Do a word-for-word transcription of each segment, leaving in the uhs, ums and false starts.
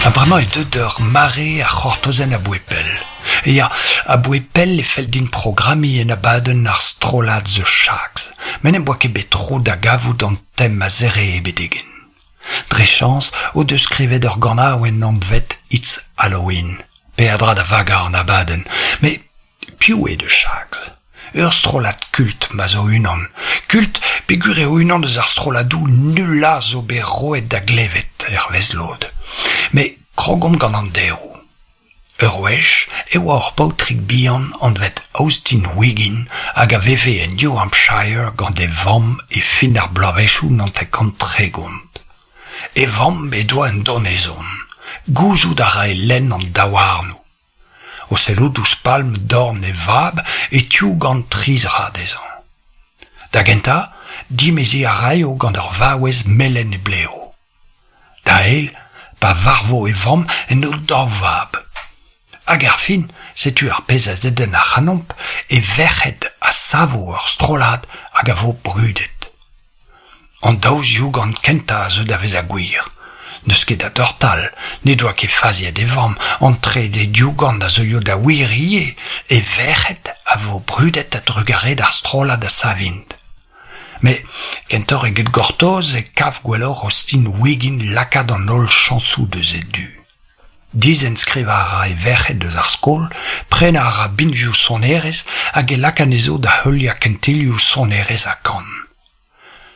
Ha bremañ eo deuet ur mare a c'hortozen aboe pell. Ya, aboe pell e fell din programmiñ en abadenn ar strollad The Shaggs, met n'em boa ket bet tro da gavout an tem a zeree betek-henn. Dre chañs o deus skrivet ur ganaouenn anvet It's Halloween, peadra da vagañ an abadenn. Met piv eo The Shaggs? Ur strollad kult ma zo unan. Kult peogwir eo unan eus ar strolladoù nullañ zo bet roet da glevet, hervez lod. Met krogomp gant an deroù. Ur wech e oa ur paotrig bihan anvet Austin Wiggin hag a veve en New Hampshire gant e vamm e fin ar bloavezhioù naontek-kant tregont. E vamm he doa un donezon. Gouzout a rae lenn an daouarnoù. O sellout ouzh palm dorn e vab e tiougan tri zra dezhañ. Da gentañ, dimeziñ a raio gant ur vaouez melen he blev. Da eil, pa varvo e vamm en do daou vab. Hag er fin, setu ar pezh a zedenn ac'hanomp, e verc'hed a savo ur strollad hag a vo brudet. An daou ziougan kentañ a zeu da vezañ gwir. N'eus ket da dortal, n'he doa ket faziet e vamm, an trede diougan a zeuio da wir ivez, e verc'hed a vo brudet a-drugarez d'ar strollad a savint. Met kentoc'h eget gortoz e kav gwelloc'h Austin Wiggin lakaat an holl chañsoù deus e du. Dizenskrivañ a ra e verc'hed eus ar skol, prenañ a ra binvioù sonerezh hag e laka anezho da heuliañ kentelioù sonerezh ha kan.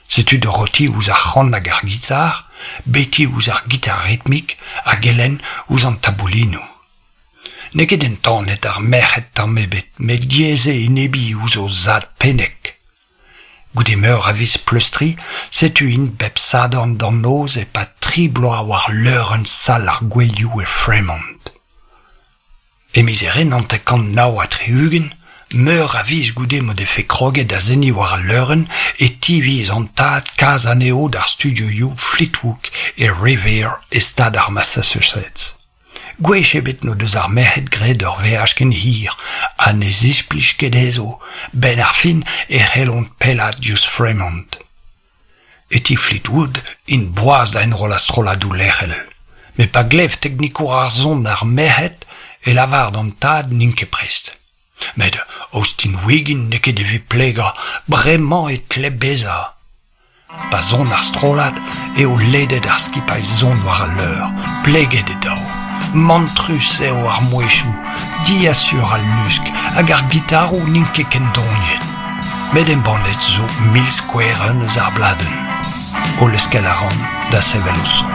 Setu Dorothy ouzh ar c'han hag ar gitar, Betty ouzh ar gitar ritmik hag Ellen ouzh an taboulinoù. N'eo ket entanet ar merc'hed tamm ebet, met diaes eo enebiñ ouzh o zad pennek. Goude meur a viz pleustriñ, setu int bep Sadorn d'an noz e-pad tri bloaz war leurenn sal ar gouelioù e Fremont. E miz Here naontek-kant nav ha tri-ugent, meur a viz goude m'o defe kroget da seniñ war al leurenn e tiviz an tad kas anezho d'ar studioioù Fleetwood e Revere e stad ar Massachusetts. Gwech ebet n'o deus ar merc'hed graet ur veaj ken hir ha ne zisplij ket dezho. 'Benn ar fin e c'hellont pellaat diouzh Fremont. E ti Fleetwood int boas da enrollañ strolladoù lec'hel. Met pa glev teknikour ar son ar merc'hed e lavar d'an tad n'int ket prest. Met Austin Wiggin n'eo ket evit plegañ, bremañ e tle bezañ. Pa son ar strollad eo ledet ar skipailh son war al leur, pleget e daou. Mantrus eo ar mouezhioù, diasur al lusk hag ar gitaroù n'int ket kendoniet. Met embannet zo mil skouerenn eus ar bladenn. O leuskel a ran da sevel o son.